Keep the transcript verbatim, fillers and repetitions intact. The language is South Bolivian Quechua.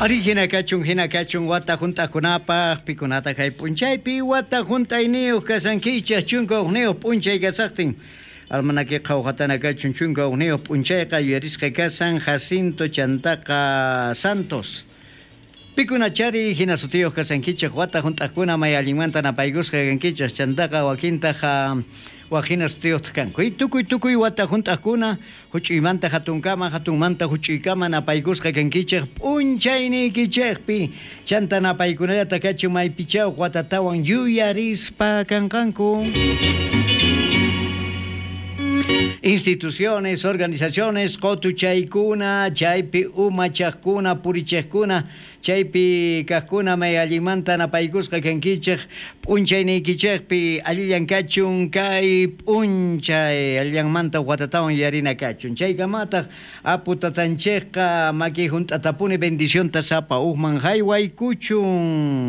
Ari hina kachun, hina kachun wata hunt'aqkunapaq, pikunataq kay p'unchaypi wata hunt'ayniyuq kasankichaq chunka hukniyuq p'unchay kasaqtin. Almanaque qhawqatana kachun chunka hukniyuq p'unchayqa yuyarisqa kasan Jacinto chantaqa Santos. Pikunachari hina sutiyuq kasankichaq wata hunt'aqkuna may allinmanta napaykusqa kankichaq chantaqa wakintaq wak hina sutiyuqtaq kanku. Y tukuy tukuy wata hunt'aqkuna huch'uymanta hatunkama hatunmanta huch'uykama napaykusqa kankichaq p'unchayniykichaqpi chanta napaykunallata kachun maypichaw watatawan yuyarispa kanqanku. Instituciones, organizaciones, qotuchaykuna, chaypi umachaqkuna, purichaqkuna, chaypi kaqkuna may allinmanta napaykusqa kankichaq p'unchayniykichaqpi allillan kachun kay p'unchay allinmanta watatawan yarina kachun. Chaykamataq apu tatanchikqa maki hunt'atapuni bendicionta sapa uqman haywaykuchun.